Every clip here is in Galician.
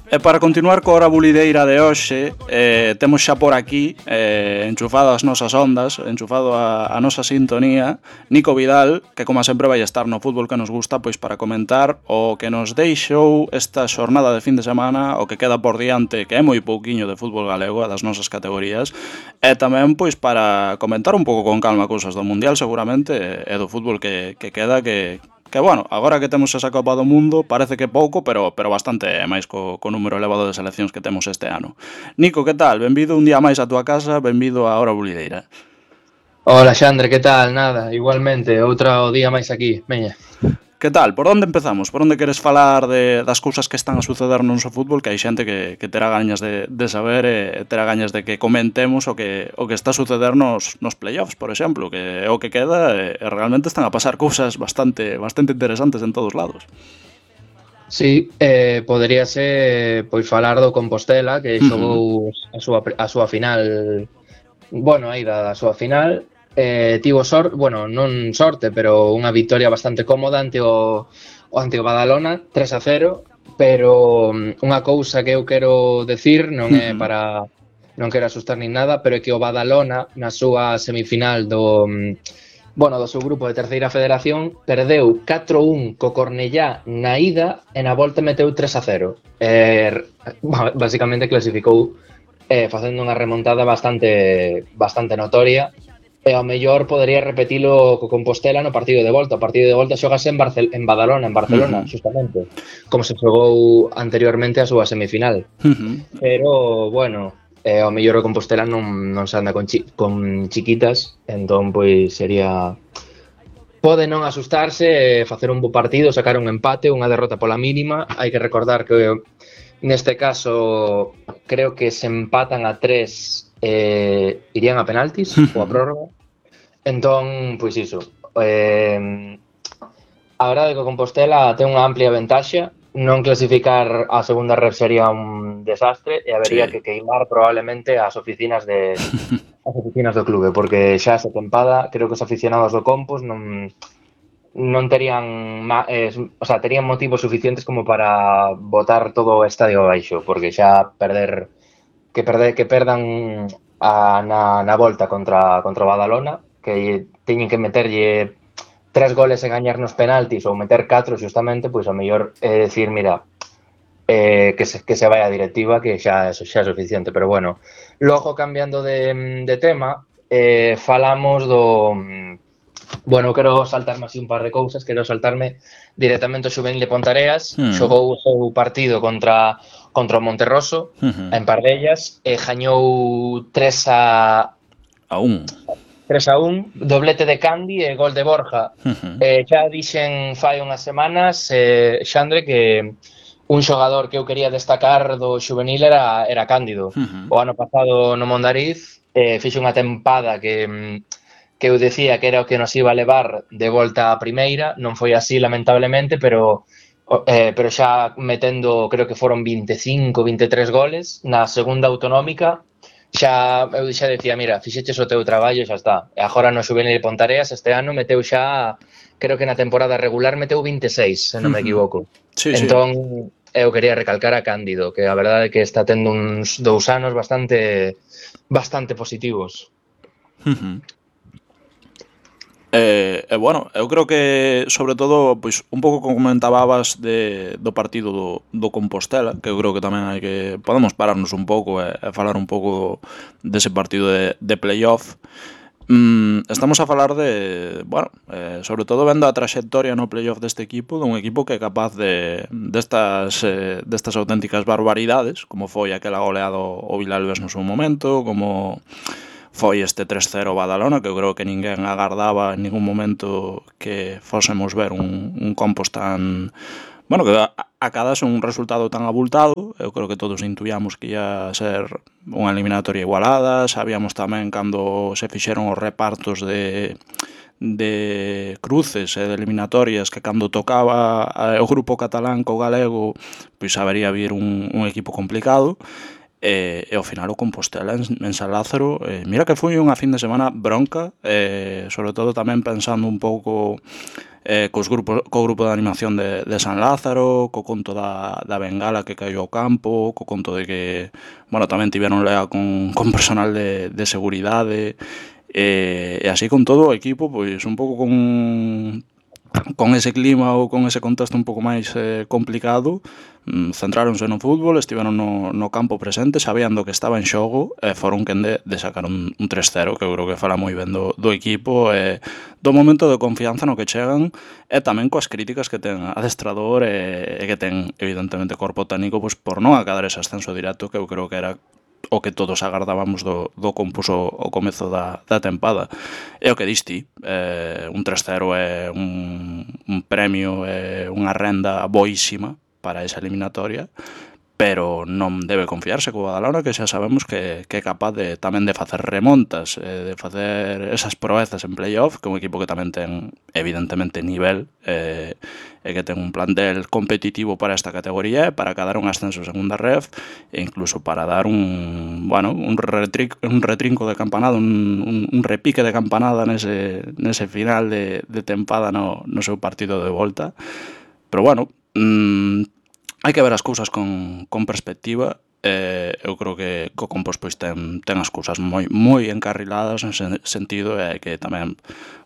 E para continuar coa hora bulideira de hoxe, temos xa por aquí, enchufado as nosas ondas, enchufado a nosa sintonía, Nico Vidal, que como sempre vai estar no fútbol que nos gusta, pois para comentar o que nos deixou esta xornada de fin de semana, o que queda por diante, que é moi pouquiño de fútbol galego, das nosas categorías, e tamén pois para comentar un pouco con calma cousas do Mundial seguramente, e do fútbol que queda, que bueno, agora que temos esa Copa do Mundo parece que pouco, pero bastante máis co número elevado de seleccións que temos este ano. Nico, que tal? Benvido un día máis á túa casa, benvido á hora bulideira. Hola Xandre, que tal? Nada, igualmente, outro día máis aquí, veña. Que tal? Por onde empezamos? Por onde queres falar das cousas que están a suceder no noso fútbol, que hai xente que terá gañas de saber e terá gañas de que comentemos o que está a suceder nos playoffs, por exemplo, que é o que queda e realmente están a pasar cousas bastante interesantes en todos lados. Sí, poderíase pois falar do Compostela, que xogou a súa final, bueno, a ida da súa final, tivo non sorte, pero unha victoria bastante cómoda ante o Badalona, 3-0, pero unha cousa que eu quero decir non é para, non quero asustar nin nada, pero é que o Badalona na súa semifinal do seu grupo de terceira federación perdeu 4-1 co Cornellá na ida e na volta meteu 3-0. Basicamente clasificou facendo unha remontada bastante notoria, e ao mellor podería repetilo co Compostela no partido de volta. O partido de volta xogase en Badalona, en Barcelona, justamente, como se xogou anteriormente a súa semifinal. Pero, bueno, ao mellor o Compostela non se anda con chiquitas, entón, pois, sería... Pode non asustarse, facer un bo partido, sacar un empate, unha derrota pola mínima. Hai que recordar que neste caso creo que se empatan a 3, irían a penaltis ou a prórroga. Entón, pois iso, a verdade é que o Compostela ten unha amplia ventaxa. Non clasificar a segunda ref sería un desastre e habería que queimar probablemente as oficinas do clube, porque xa esa tempada creo que os aficionados do Compos non terían terían motivos suficientes como para botar todo o estadio abaixo, porque xa que perdan na volta contra o Badalona, que teñen que meterlle 3 goles e gañar nos penaltis ou meter 4 justamente, pois ao mellor é decir, mira, que se vai a directiva, que xa é suficiente. Pero bueno, logo cambiando de tema, falamos do... Bueno, quero saltarme así un par de cousas. Quero saltarme directamente o Xuvenil de Pontareas. Xogou o seu partido contra o Monterroso, en Pardellas, e gañou 3-1, doblete de Candi e gol de Borja. Xa dixen fai unhas semanas, Xandre, que un xogador que eu quería destacar do Xuvenil era Cándido. O ano pasado no Mondariz fixo unha tempada que eu decía que era o que nos iba a levar de volta á primeira. Non foi así, lamentablemente, pero xa metendo, creo que foron 25, 23 goles na segunda autonómica. Eu xa decía, mira, fixeches o teu traballo, xa está. E agora no Xuvenil de Pontareas este ano meteu xa, creo que na temporada regular meteu 26, se non me equivoco. Entón, eu quería recalcar a Cándido, que a verdade é que está tendo uns 2 anos bastante positivos. Bueno, eu creo que sobre todo, pois un pouco como comentabas do partido do Compostela, que eu creo que tamén hai que podemos pararnos un pouco e falar un pouco dese partido de playoff. Estamos a falar sobre todo vendo a traxectoria no playoff deste equipo, dun equipo que é capaz destas auténticas barbaridades, como foi aquela goleada ao Vilalbes no seu momento, como foi este 3-0 Badalona, que eu creo que ninguén agardaba en ningún momento que fósemos ver un Compos tan... Bueno, que acadase un resultado tan abultado. Eu creo que todos intuíamos que ia ser unha eliminatoria igualada. Sabíamos tamén cando se fixeron os repartos de cruces e de eliminatorias que cando tocaba o grupo catalán co galego, pois habería vir un equipo complicado. e ao final o Compostela en San Lázaro, mira que foi unha fin de semana bronca, sobre todo tamén pensando un pouco co grupo de animación de San Lázaro, co conto da bengala que caiu ao campo, co conto de que, bueno, tamén tiveron lea con personal de seguridade, e así con todo o equipo, pois un pouco con ese clima ou con ese contexto un pouco máis complicado, centráronse no fútbol, estiveron no campo presente, sabían do que estaba en xogo e foron quen de sacar un 3-0, que eu creo que fala moi ben do equipo e do momento de confianza no que chegan e tamén coas críticas que ten adestrador e que ten evidentemente corpo técnico pois por non acadar ese ascenso directo que eu creo que era o que todos agardábamos do compuso ao comezo da tempada. É o que diste, un 3-0 é un premio, é unha renda boísima para esa eliminatoria, pero non debe confiarse co Badalona, que xa sabemos que é capaz tamén de facer remontas, de facer esas proezas en playoff, que é un equipo que tamén ten evidentemente nivel, e que ten un plantel competitivo para esta categoría, para cadar un ascenso a segunda ref, e incluso para dar un retrinco de campanada, un repique de campanada nese final de tempada no seu partido de volta. Pero bueno, hai que ver as cousas con perspectiva. Eu creo que o Compos pois ten as cousas moi encarriladas en ese sentido, e hai que tamén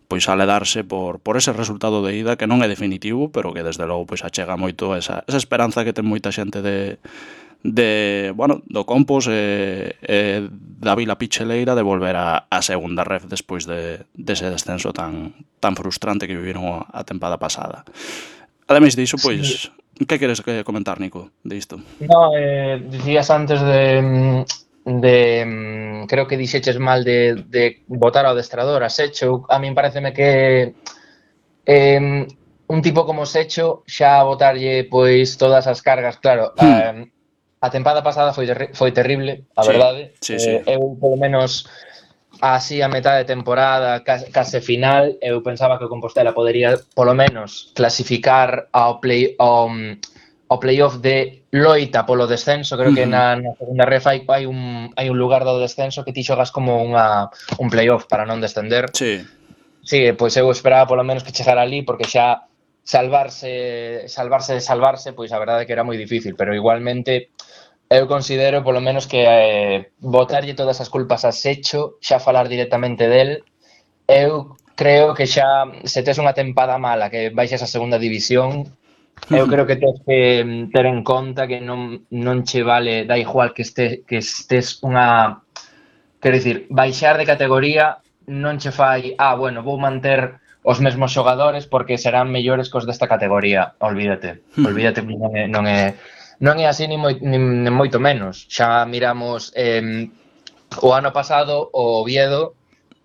pois aledarse por ese resultado de ida que non é definitivo, pero que desde logo pois achega moito esa esperanza que ten moita xente do Compos e da Vila Picheleira de volver a segunda ref despois dese descenso tan frustrante que viviron a tempada pasada. Ademais diso, pois, que queres comentar, Nico, de isto? No, dicías antes creo que dixeches mal de votar ao adestrador a Secho. A min pareceme que un tipo como Secho xa botarlle pois todas as cargas, claro, a tempada pasada foi terrible, a verdade. Sí. Eu polo menos así a metade de temporada, case final, eu pensaba que o Compostela podería polo menos clasificar ao playoff de loita polo descenso. Creo que na segunda ref hai un lugar do descenso que ti xogas como un playoff para non descender. Sí, pois eu esperaba polo menos que chegara ali, porque xa salvarse, pois a verdade é que era moi difícil, pero igualmente eu considero polo menos que botarlle todas as culpas a Secho, xa falar directamente del. Eu creo que xa se tes unha tempada mala que baixas a segunda división, eu creo que tens que ter en conta que non che vale, da igual que estés unha, quero dicir, baixar de categoría non che fai, bueno, vou manter os mesmos xogadores porque serán mellores cos desta categoría. Olvídate, non é así nin moito menos. Xa miramos o ano pasado o Oviedo,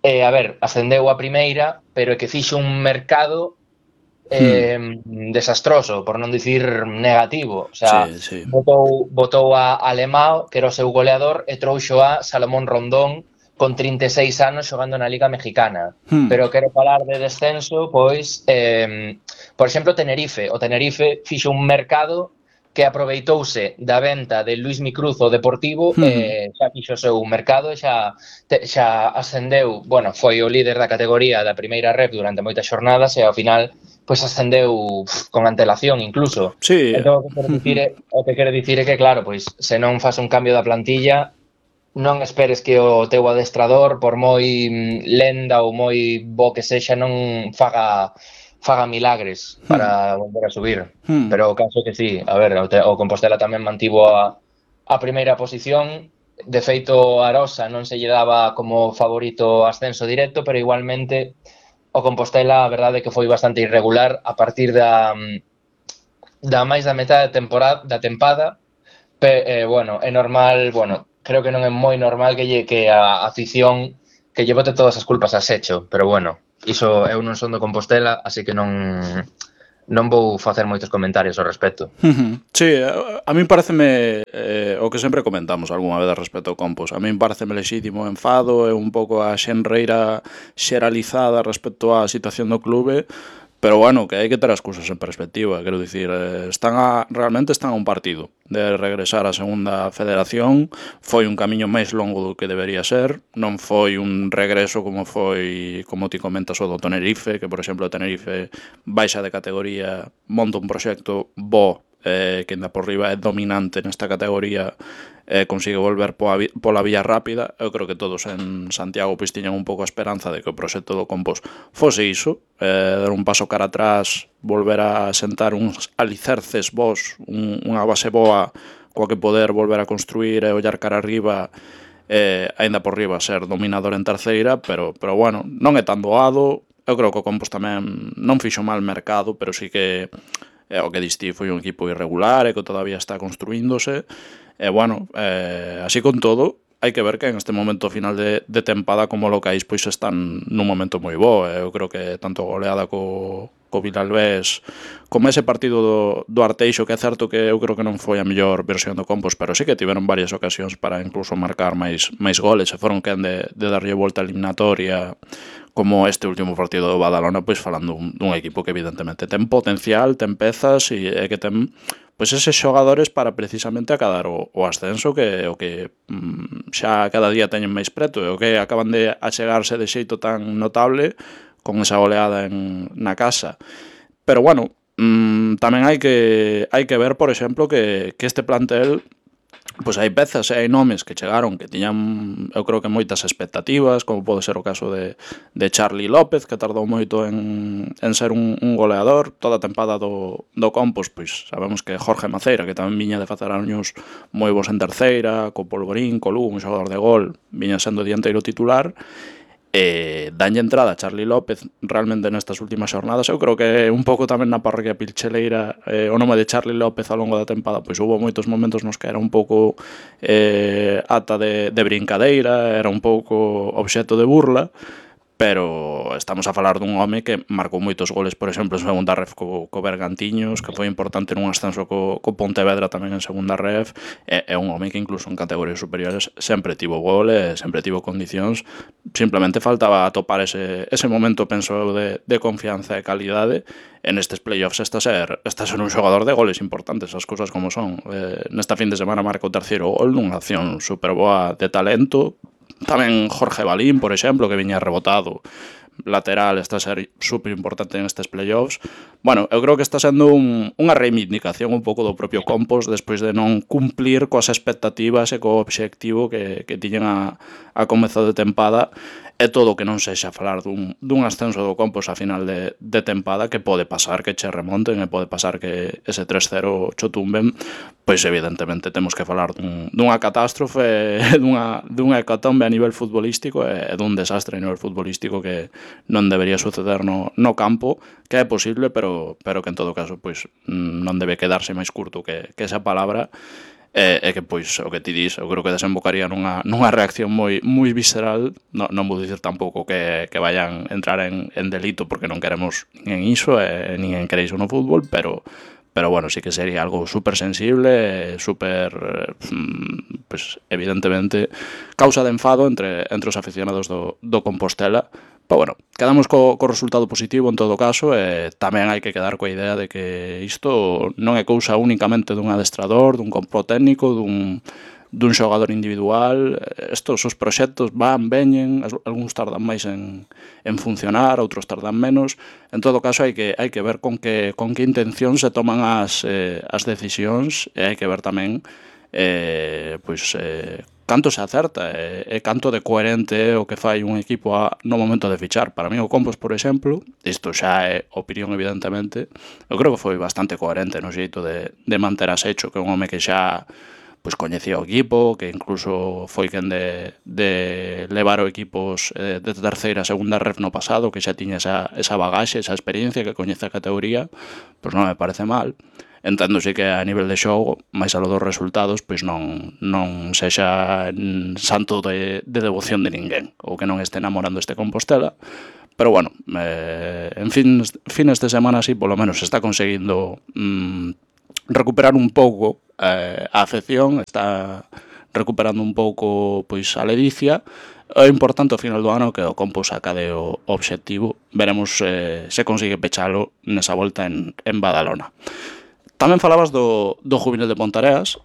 a ver, ascendeu a primeira, pero é que fixo un mercado desastroso, por non dicir negativo. O sea, sí. botou a Alemão, que era o seu goleador, e trouxo a Salomón Rondón con 36 anos xogando na Liga Mexicana. Pero quero falar de descenso, pois, por exemplo, Tenerife. O Tenerife fixo un mercado que aproveitouse da venta de Luis Micruz ao Deportivo, xa fixo o seu mercado e xa ascendeu, bueno, foi o líder da categoría da primeira ref durante moitas xornadas e ao final pois ascendeu con antelación incluso. Sí. Entón, o que quero dicir é que, claro, pois se non faz un cambio da plantilla, non esperes que o teu adestrador, por moi lenda ou moi bo que sexa, non faga milagres para volver a subir. Pero o caso que sí, a ver, o Compostela tamén mantivo a primeira posición. De feito, a Arosa non se lle daba como favorito ascenso directo, pero igualmente o Compostela, a verdade é que foi bastante irregular a partir da máis da metade da tempada. Bueno, é normal, creo que non é moi normal que a afición que lle bote todas as culpas a Secho, pero bueno, iso eu non son do Compostela, así que non vou facer moitos comentarios ao respecto. Sí, a min pareceme o que sempre comentamos algunha vez respecto ao Compos. A min pareceme lexítimo o enfado e un pouco a xenreira xeralizada respecto á situación do clube, Pero bueno, que hai que ter as cousas en perspectiva, quero dicir, realmente están a un partido de regresar á segunda federación. Foi un camiño máis longo do que debería ser, non foi un regreso como foi, como ti comentas, o do Tenerife, que por exemplo o Tenerife baixa de categoría, monta un proxecto bo, que ainda por riba é dominante nesta categoría, consigue volver pola vía rápida. Eu creo que todos en Santiago pois tiñan un pouco a esperanza de que o proxecto do Compos fose iso, dar un paso cara atrás, volver a sentar uns alicerces bons, unha base boa coa que poder volver a construir e ollar cara arriba, aínda por riba ser dominador en terceira, pero bueno, non é tan doado. Eu creo que o Compos tamén non fixo mal mercado, pero sí que o que diste foi un equipo irregular e que todavía está construíndose. E bueno, así con todo, hai que ver que en este momento final de tempada como locais pois están nun momento moi bo. Eu creo que tanto a goleada co Vilalbés como ese partido do Arteixo, que é certo que eu creo que non foi a mellor versión do Compos, pero sí que tiveron varias ocasións para incluso marcar máis goles e foron quen de darlle volta a eliminatoria, como este último partido do Badalona, pois falando dun equipo que evidentemente ten potencial, ten pezas e que ten pois eses xogadores para precisamente acadar o ascenso, que o que xa cada día teñen máis preto, e o que acaban de achegarse de xeito tan notable con esa goleada na casa. Pero bueno, tamén hai que ver, por exemplo, que este plantel pois hai pezas e hai nomes que chegaron que tiñan, eu creo que moitas expectativas, como pode ser o caso de Charly López, que tardou moito en ser un goleador. Toda a tempada do Compos, pois sabemos que Jorge Maceira, que tamén viña de facer años moi bons en terceira, co Polvorín, co Lugo, un xogador de gol, viña sendo dianteiro titular, danlle entrada a Charly López realmente nestas últimas xornadas. Eu creo que un pouco tamén na parroquia pilcheleira, o nome de Charly López ao longo da tempada, pois houve moitos momentos nos que era un pouco ata de brincadeira, era un pouco obxecto de burla, pero estamos a falar dun home que marcou moitos goles, por exemplo, en segunda ref co Bergantiños, que foi importante nun ascenso co Pontevedra tamén en segunda ref. É un home que incluso en categorías superiores sempre tivo gol e sempre tivo condicións. Simplemente faltaba atopar ese momento, penso eu, de confianza e calidade. En estes playoffs está a ser un xogador de goles importantes, as cousas como son. Nesta fin de semana marca o terceiro gol nunha acción super boa de talento. Tamén Jorge Balín, por exemplo, que viña rebotado lateral, está a ser super importante nestes playoffs. Bueno, eu creo que está sendo unha reivindicación un pouco do propio Compos despois de non cumplir coas expectativas e co obxectivo que tiñen a comezo de tempada. É todo que non sexa falar dun ascenso do Compos a final de tempada, que pode pasar que che remonten e pode pasar que ese 3-0 cho tumben. Pois evidentemente temos que falar dunha catástrofe, dunha hecatombe a nivel futbolístico e dun desastre a nivel futbolístico que non debería suceder no campo, que é posible, pero que en todo caso pois non debe quedarse máis curto que esa palabra. E que pois o que ti dis, eu creo que desembocaría nunha reacción moi visceral. Non vou dicir tampouco que vayan entrar en delito, porque non queremos nin iso e nin en querer iso no fútbol, pero bueno, sí que sería algo super sensible, super pues evidentemente causa de enfado entre os aficionados do Compostela. Pero bueno, quedamos co resultado positivo en todo caso, e tamén hai que quedar coa idea de que isto non é cousa únicamente dun adestrador, dun compo técnico, dun xogador individual. Estos os proxectos veñen, algúns tardan máis en funcionar, outros tardan menos. En todo caso hai que ver con que intención se toman as decisións, e hai que ver tamén canto se acerta e canto de coherente é o que fai un equipo no momento de fichar. Para mí o Compos, por exemplo, isto xa é opinión evidentemente, eu creo que foi bastante coherente no xeito de manter a Secho, que é un home que xa pois coñecía o equipo, que incluso foi quen de levar o equipos de terceira a segunda ref no pasado, que xa tiña esa bagaxe, esa experiencia, que coñece a categoría. Pois non me parece mal. Enténdose que a nivel de xogo, máis alo dos resultados, pois non sexa santo de devoción de ninguén, ou que non este namorando este Compostela. Pero bueno, en fines de semana así, polo menos está conseguindo recuperar un pouco a afección, está recuperando un pouco pois a ledicia, O importante ao final do ano que o Compo sacade o obxectivo. Veremos se consigue pechalo nesa volta en Badalona. Tamén falabas do juvenil de Pontareas.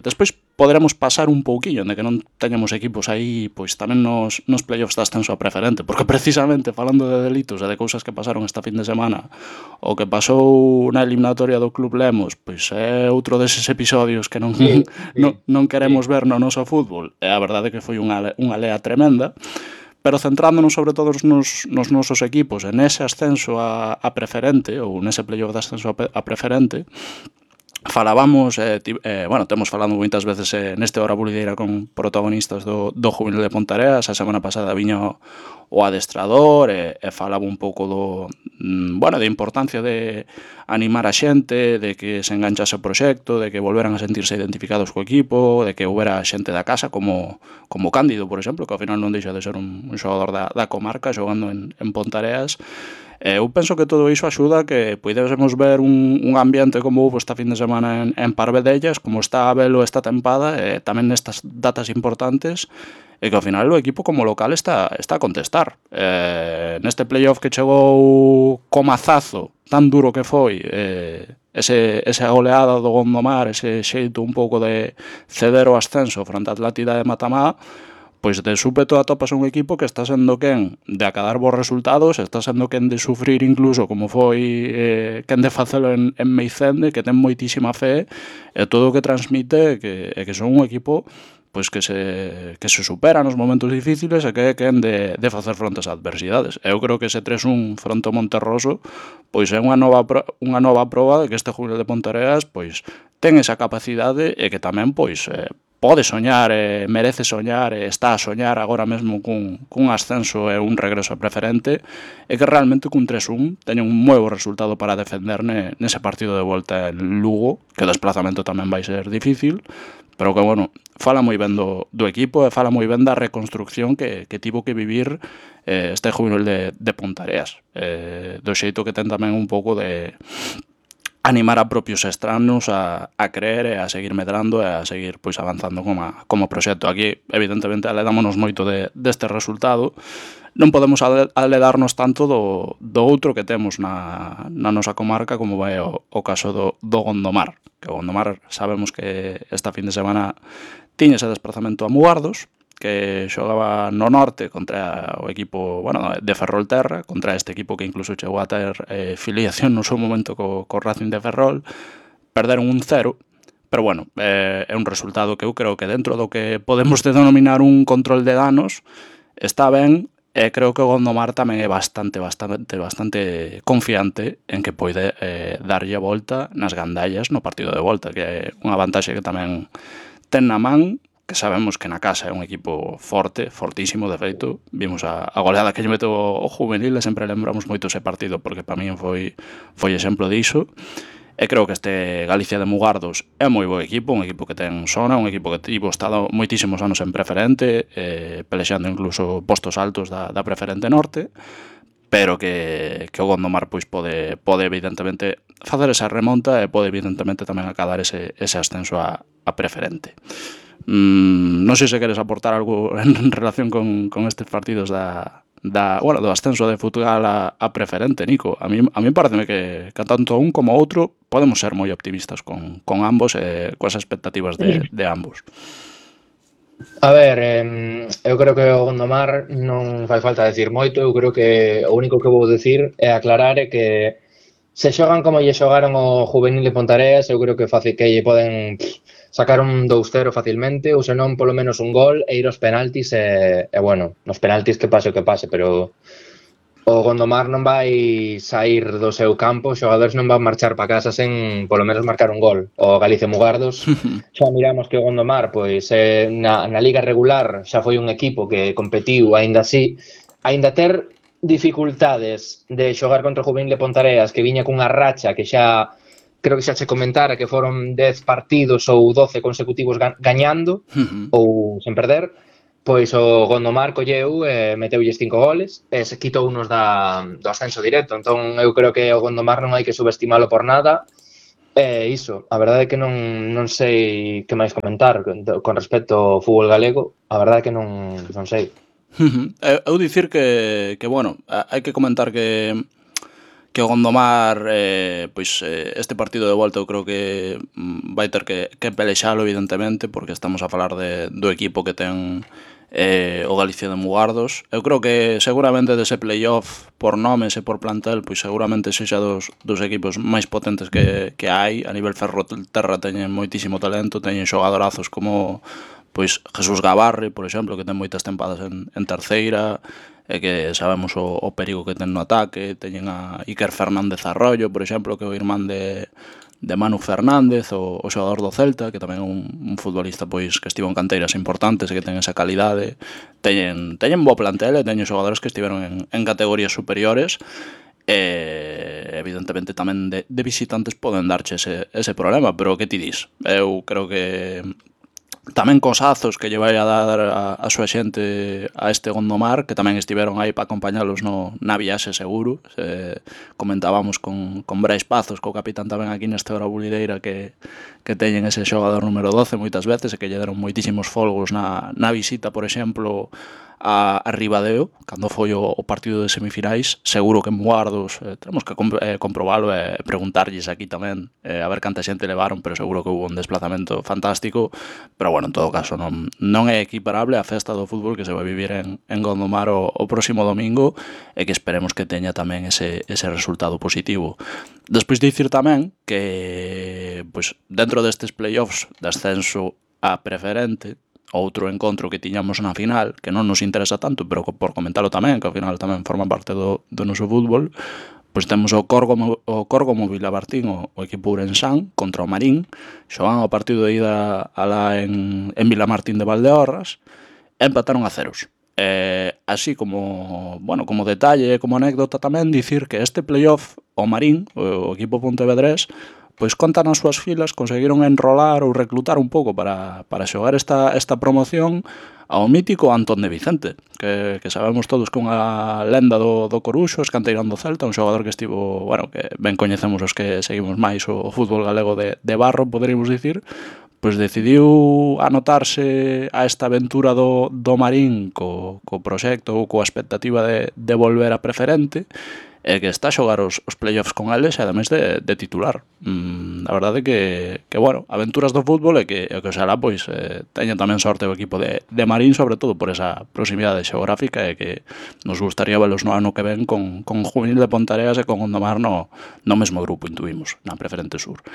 Despois poderemos pasar un pouquiño de que non teñamos equipos aí pois tamén nos playoffs de ascenso a preferente, porque precisamente falando de delitos e de cousas que pasaron esta fin de semana, o que pasou na eliminatoria do Club Lemos, pois é outro deses episodios que non non queremos ver no noso fútbol. E a verdade é que foi unha lea tremenda. Pero centrándonos sobre todo nos nosos equipos en ese ascenso a preferente, ou nese playoff de ascenso a preferente, falábamos, temos falado moitas veces neste Hora Bulideira con protagonistas do juvenil de Pontareas. A semana pasada viño o adestrador e falaba un pouco da importancia de animar a xente, de que se enganchase o proxecto, de que volveran a sentirse identificados co equipo, de que houbera xente da casa como Cándido, por exemplo, que ao final non deixa de ser un xogador da comarca xogando en Pontareas. Eu penso que todo iso axuda a que puidésemos ver un ambiente como houve esta fin de semana en Parvedellas, como está a velo esta tempada, tamén nestas datas importantes, e que ao final o equipo como local está a contestar. Neste playoff que chegou co mazazo tan duro que foi, esa goleada do Gondomar, ese xeito un pouco de ceder o ascenso fronte a Atlántida de Matamá, pois de súpeto atopas un equipo que está sendo quen de acadar bons resultados, está sendo quen de sufrir incluso como foi quen de facelo en Meicende, que ten moitísima fe, e todo o que transmite que son un equipo pois que se supera nos momentos difíciles e que é quen de facer fronte ás adversidades. Eu creo que ese 3-1 fronte ao Monterroso pois é unha nova proba de que este juvenil de Pontareas pois ten esa capacidade e que tamén pois pode soñar, merece soñar, está a soñar agora mesmo cun ascenso e un regreso a preferente, e que realmente cun 3-1 teña un moi bo resultado para defender nese partido de volta en Lugo, que o desplazamento tamén vai ser difícil, pero que, fala moi ben do equipo e fala moi ben da reconstrucción que tivo que vivir este juvenil de Pontareas, do xeito que ten tamén un pouco de animar a propios estranos a creer e a seguir medrando e a seguir pois avanzando como proxecto. Aquí, evidentemente, aledámonos moito deste resultado. Non podemos aledarnos tanto do outro que temos na nosa comarca, como vai o caso do Gondomar. Que o Gondomar sabemos que esta fin de semana tiña ese desplazamento a Mugardos, que xogaba no norte contra o equipo de Ferrolterra, contra este equipo que incluso chegou a ter filiación no seu momento co Racing de Ferrol. Perderon 1-0, pero é un resultado que eu creo que dentro do que podemos denominar un control de danos está ben, e creo que o Gondomar tamén é bastante confiante en que pode darlle a volta nas gandallas no partido de volta, que é unha vantaxe que tamén ten na man, que sabemos que na casa é un equipo forte, fortísimo, de feito. Vimos a goleada que lle meto o juvenil e sempre lembramos moito ese partido porque para min foi exemplo diso. E creo que este Galicia de Mugardos é moi bo equipo, un equipo que ten sona, un equipo que tivo estado moitísimos anos en preferente, pelexando incluso postos altos da preferente norte, pero que o Gondomar pois pode evidentemente facer esa remonta e pode evidentemente tamén acadar ese ascenso a preferente. Non sei se queres aportar algo en relación con estes partidos do ascenso de Futgal a preferente, Nico. A mí pareceme que tanto un como outro podemos ser moi optimistas con ambos e coas expectativas de ambos. A ver, eu creo que o Gondomar non fai falta decir moito. Eu creo que o único que vou decir é aclarar que se xogan como lle xogaron o juvenil de Pontareas, eu creo que lle poden sacar un 2-0 facilmente, ou senón polo menos un gol e ir aos penaltis nos penaltis que pase o que pase, pero o Gondomar non vai sair do seu campo, os xogadores non van marchar para casa sen polo menos marcar un gol. O Galicia Mugardos, xa miramos que o Gondomar, pois na liga regular xa foi un equipo que competiu aínda ter dificultades de xogar contra o juvenil de Pontareas, que viña cunha racha que xa creo que xa che comentara que foron 10 partidos ou 12 consecutivos gañando ou sen perder, pois o Gondomar colleu e meteulles 5 goles e se quitou unos do ascenso directo. Entón eu creo que o Gondomar non hai que subestimalo por nada Iso, a verdade é que non sei que máis comentar con respecto ao fútbol galego, a verdade é que non sei. Eu dicir que bueno, hai que comentar que o Gondomar, pois este partido de volta eu creo que vai ter que pelexalo evidentemente, porque estamos a falar do equipo que ten o Galicia de Mugardos. Eu creo que seguramente dese playoff por nomes e por plantel, pois seguramente sexa dos equipos máis potentes que hai. A nivel ferroterra teñen moitísimo talento, teñen xogadorazos como pois Jesús Gavarre, por exemplo, que ten moitas tempadas en terceira, e que sabemos o perigo que ten no ataque. Teñen a Iker Fernández Arroyo, por exemplo, que é o irmán de Manu Fernández, o xogador do Celta, que tamén é un futbolista pois que estivo en canteiras importantes e que ten esa calidade. Teñen bo plantel e teñen xogadores que estiveron en categorías superiores, e evidentemente tamén de visitantes poden darche ese problema, pero que ti dis? Eu creo que tamén cos azos que lle vai a dar a súa xente a este Gondomar, que tamén estiveron aí para acompañalos na viaxe seguro. Comentábamos con Brais Pazos, co capitán tamén aquí nesta hora bulideira, que teñen ese xogador número 12 moitas veces e que lle deron moitísimos folgos na visita, por exemplo, a Ribadeo, cando foi o partido de semifinais. Seguro que en Mugardos temos que comprobalo e preguntarlles aquí tamén a ver canta xente levaron, pero seguro que hubo un desplazamento fantástico. Pero bueno, en todo caso non é equiparable a festa do fútbol que se vai vivir en Gondomar o próximo domingo, e que esperemos que teña tamén ese resultado positivo. Despois de dicir tamén que pois dentro destes playoffs de ascenso a preferente, outro encontro que tiñamos na final, que non nos interesa tanto, pero por comentalo tamén, que ao final tamén forma parte do noso fútbol, pois temos o Córgomo Vilabartín, o equipo ourensán, contra o Marín. Xogan o partido de ida alá en Vilamartín de Valdeorras, e empataron a 0. Así como detalle, como anécdota tamén, dicir que este playoff, o Marín, o equipo pontevedrés, pois conta nas súas filas, conseguiron enrolar ou reclutar un pouco para xogar esta promoción ao mítico Antón de Vicente, que sabemos todos que unha lenda do Coruxo, escanteirán do Celta, un xogador que estivo, que ben coñecemos os que seguimos máis o fútbol galego de barro, poderíamos dicir, pois decidiu anotarse a esta aventura do Marín co proxecto ou coa expectativa de volver a preferente, e que está a xogar os playoffs con eles, e ademais de titular. A verdade que aventuras do fútbol, e que oxalá pois teña tamén sorte o equipo de Marín, sobre todo por esa proximidade xeográfica, e que nos gustaría velos no ano que ven con Juvenil de Ponteareas e con Gondomar no mesmo grupo, intuímos, na Preferente Sur.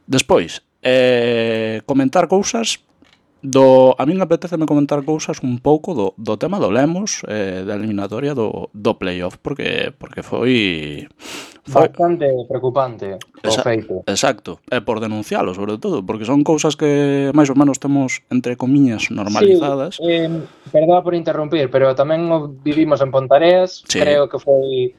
Despois, comentar cousas a min apeteceme comentar cousas un pouco do tema do Lemos, da eliminatoria do playoff, porque foi bastante preocupante o feito. Exacto, e por denuncialo, sobre todo, porque son cousas que máis ou menos temos, entre comiñas, normalizadas. Sí, perdón por interrumpir, pero tamén o vivimos en Pontareas, sí. Creo que foi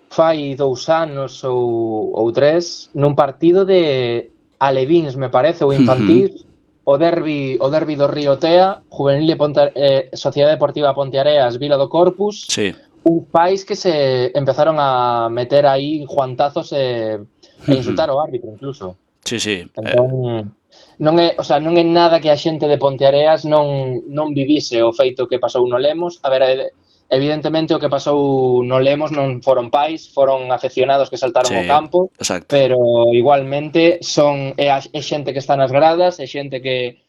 fai 2 anos ou 3, nun partido de alevíns, me parece, ou infantil, o derbi do Río Tea, Juvenil de Sociedade Deportiva Ponteareas, Vila do Corpus, sí. Un país que se empezaron a meter aí juantazos e insultar ao árbitro, incluso. Sí, sí. Entón, non é nada que a xente de Ponteareas non vivise o feito que pasou no Lemos. A ver, evidentemente o que pasou no Lemos non foron pais, foron afeccionados que saltaron ao campo, exacto. Pero igualmente é xente que está nas gradas, é xente que